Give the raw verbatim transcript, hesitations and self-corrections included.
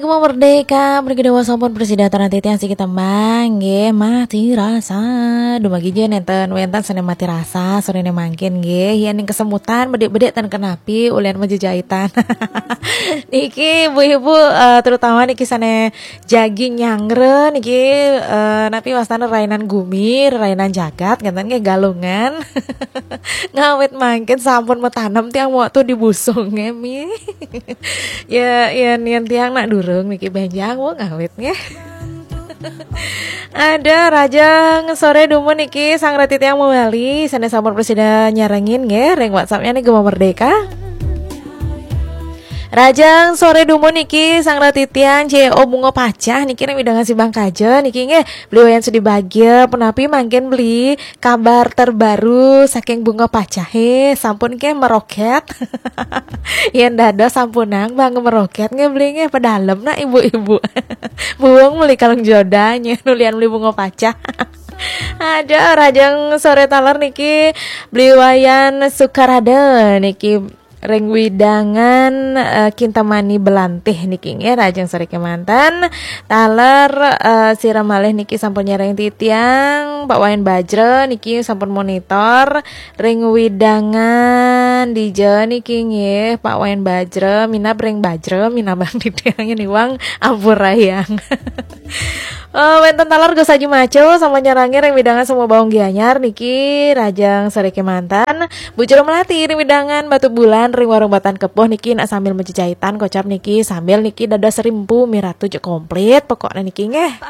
Gema Merdeka, mriki dawuh sampun prasida titiang siki tembang nggih, mati rasa. Dumagija nénten wénten sané mati rasa, soréné mangkin nggih. Yén ning kesemutan bedik-bedik ten kenapi ulian majejaitan. Niki ibu-ibu, eh, terutama niki sané jagi nyanggra niki, eh, napi wastana rainan gumi, rainan jagat, ngénten nggih Galungan. Ngawit mangkin sampun matanem tiang waktu di busung nggih. Ya, yén, yén tiang nak durung niki bénjang, wah ngawit nggih. Ada rajang soré dumun niki sang rati tiang mawali, sané sampun prasida nyarengin nggih, ring WhatsApp-nya nih Gema Merdeka. Rajang soré dumun niki sang rati tiang C O Bunga Pacah niki ring wewidangan Simbang Kaja niki nggih, beli wayan sudi bagia, punapi mangkin beli kabar terbaru saking Bunga Pacahé, sampun nggih meroket. Yén dados sampunang bang meroket nggih beli nggih, pedalem nak ibu-ibu. Buung beli kalung joda nyén ulian beli Bunga Pacah. Ada rajang soré taler niki beli wayan Sukarada niki ring wewidangan, eh, Kintamani Belantih niki nggih, rajang soré kémanten. Taler, eh, sira malih niki sampun nyarengin titiang, Pak Wayan Bajra niki sampun monitor ring wewidangan dija niki nggih, Pak Wayan Bajra, minab ring Bajra, minab bang titiang niwang ampurayang. Eh, wénten taler Gus Haji Maco sampun nyarengin ring wewidangan Sumubaung Gianyar niki, rajang soré kémanten. Bu Jero Melati ring wewidangan Batubulan ring Warung Batan Kepuh niki nak sambil majejaitan kocap niki, sambil niki dados rimpu miratu ja komplit pokoknya niki nggih.